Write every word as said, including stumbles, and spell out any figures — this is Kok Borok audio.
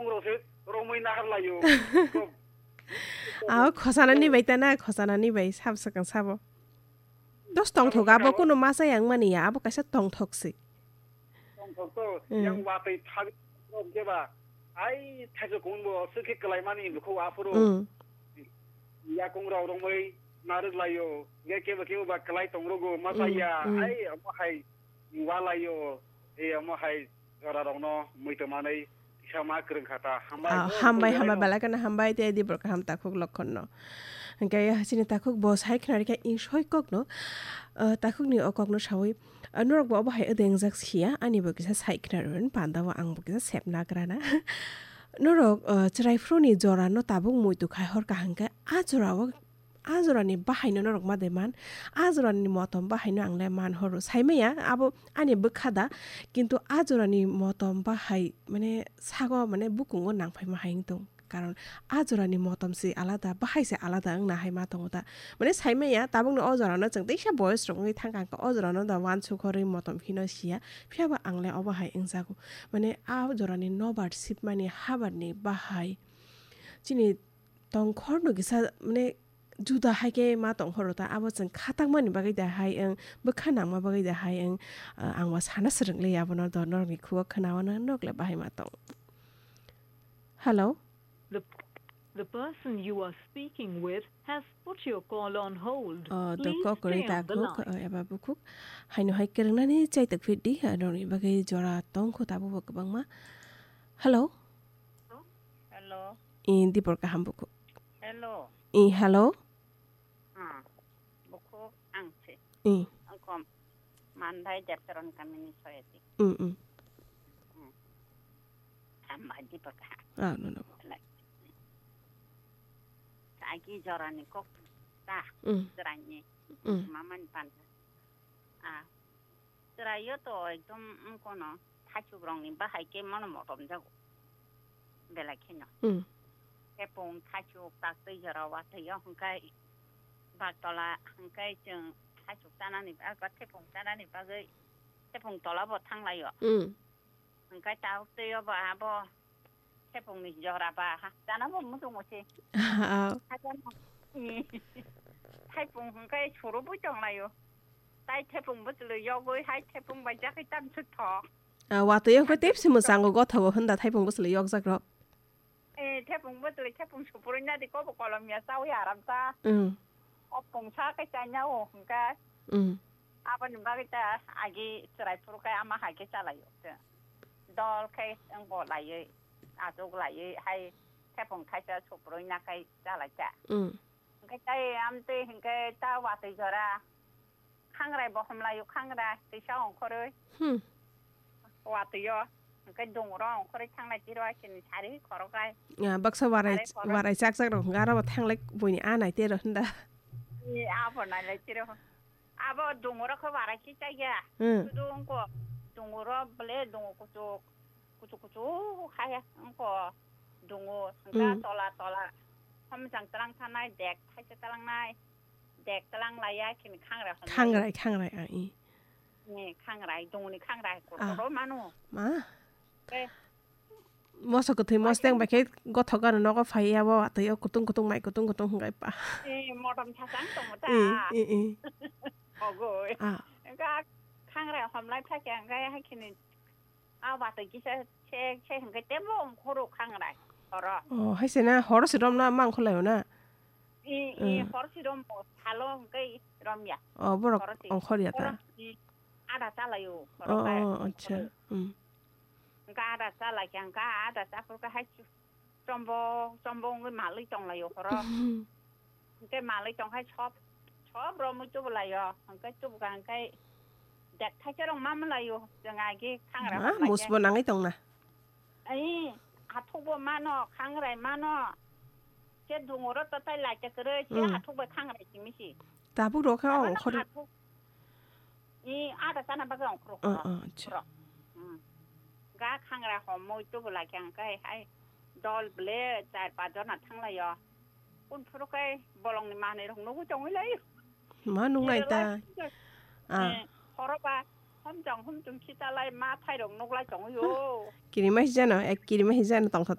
Puro se romwi nahar laio. Ko- Aw, khosanani bai ta na, khosanani bai sab swkang sabo. Dos tongthok abo, kunu masa yang mani ya, abo kaisa tongthok se. Tongthok to, hmm, yang watwi thag-, rok jeba, ai, thaichuk kung bo, swkhe kwlai mani bukhu aphuru. Hmm. Yakung rok romwi narwk laio, ge kebo kebo ba kwlai tong rogo, masa hmm, ya, hmm, ai, omo hai, wa laio, e, omo hai, jora rokno muitu manwi, kisa ma kwrwng kha ta, hambai, ah, oh, hambai, hambai, belai kheno hambai, tei dibor kaham takhuk lokhon no. Hwnkhe chini takhuk bo sai khna rikha, insoi kok no, ah, takhuk ni o kok no sawi, ah, norok bo obo hai odengjak siya, ani bo kisa sai khna rwin, panda o ang bo kisa sep nagra na. Norok, ah, chwrai phuru ni jora no tabuk muitu khai hor kaham khe, a jora o a jorani bahaino norok ma de man, a jorani motom bahaino ang le man horo. Saimaya abo ani bwkha da, kintu a jorani motom bahai, mane, sago, mane, bukungo nang phai ma hai wng tong. Karon a jorani motom se alada, bahai se alada wngna hai ma tongo da. Mane, saimaya tabukno o jorano chwng teisa boyes rok wngwi thang kha, o jorano da uansuk horwi motom phino siya, phiya ba ang le obo hai wngjago. Mane, a jorani nobar sipmani habarni bahai chini tongkhor no kisa, mane, juda hai khe ma tongkhor ta, abo chwng kha tangmani bagwi da hai wng, bwkha nangma bagwi da hai wng, ah, ang bo sana swrwng le abono do norokni khugo khnaono nok le bahai ma tong. Hello? The, the person you are speaking with has put your call on hold. Oh, do Please kok kwrwi stay on the takhuk, line. Oh, eba bukhuk. Haino hai kwrwngnani chai tok phit di, ah, norokni bagwi jora tong kho tabuk bo kwbangma. Hello? Hello. I dibor kaham bukhuk. Hello. I, hello. Ah, bukhuk ang se. I. Ang kom Mandai Deptaron kamini soyati. Mm, mm. Mm. Ang baji baka. Ah, no, no. Like. Agi jorani kok ta. Mm. Jorani. Mm. Mamani panta. Ah, chwraio to ekdom wngkhono thaichuk rokni bahai khe mano motom jago belai kheno. Hmm. Thepung thaichuk taktwi jora watwi o hwnkhe baktola hwnkhe chwng thaichuk chanani ba-, ba thepung chanani bagwi thepung tola bo thanglaio. Hmm. Hwnkhe tabuk twi obo abo thepungni jora ba ha, chana bo muchung musi. Ah. Hakhe no, i, thepung hwnkhe surubui tonglaio. Tai thepung bwchwlwi yogwi hai thepung bai jakhi tamsuk thok. Ah, watwi hwnkhe tepsi mwchango gothogo hwnda thepung bwchwlwi yokjak rok. Eh, thepung bwchwlwi thepung supurwi nadi kobo kolom ya chawi aram cha. Mm. O pungsa khe chanya o hwnkhe. Mm. Aboni bagwi ta agi chwrai phuru khe ama hai khe chalaio. Dol khe wngbo laiwi, achuk laiwi hai thepung thaisa suprui nakhai chalaikha. Mm. Hwnkhe tai amtwi hwnkhe ta watwi jora khangrai bo homlaio, khangrai twisa ongkhorwi. Hmm. Watwi o hwnkhe dungro ongkhorwi thanglai tiro aisini sari khoroklai. Ah, baksa warai, sari khorok. Warai chak chak rok hwnkhe aro bo thanglai buini a nai tero hwnda. Ni abo nailai tiro. Abo dungro khe warai khe chaya. Hmm. Sudu wngkho dungro ble dungo kuchuk, kuchuk kuchuk hai wngkho dungo hwnkhe hmm. Tola tola. Homjang twlang thanai dek thaisa twlangnai. Dek twlang laiya khini khangrai hwnlai. Khangrai, khangrai, ah, i. Ni khangrai, dungni khangrai, ah. Kotor mano. Ma? Eh. Moso kwthwi mosteng bai khe gothok gano nogo phai ya bo, tei o kutung kutung mai kutung kutung hwnkhai pa. Eh, motom thasang tongmo ta. I, i, i. Ogoi. Ah. Ga khangrai homlai phai khe hwnkhai hai khini. A watwi kisa se, se hwnkhe tebo ongkhoro khangrai horo. Oh, hai se na horo se romna ma ongkhorlaio na? I, i, hmm. Horo se rombo salo hwnkhe romya. Oh, borok horo se ongkhorya ta? Horo se ada chalaio horo. Oh, khe oh, acha. Ongkhoro. Hmm. Hwnkhe ada chalaikha hwnkhe ada chaphurkhe hai chu-, chombo, chombo wngwi malwi tonglaio horo. Hwnkhe malwi tongkhai sob, sob romwi tubulaio. Hwnkhe tubukha hwnkhe dek thaisa rok ma malaio. Chwng agi khangra ma, hor lai khe. Musbo nangwi tongna? Ai, athukbo mano, khangrai mano. Khe dungoro totai lai khe kwrwi, khe hmm. Athuk bai khangrai simi si. Tabuk rok kha abo ongkhor. Athuk, i, ada chana bagwi ongkhor. Oh, oh, acha. Ongkhor. Hmm. Ga khangra homwi tubulai khe hwnkhe hai dol ble char pach jona thanglaio. Kunphuru khe bolongni manwi rok nugwi tongwi lai. Ma nungnai ta. Nirwlai. Ah. Eh, horo ba homjong homjong khitalai ma thairok nuglai tongwi o. Kirima hijano, ek kirima hijano tongtha.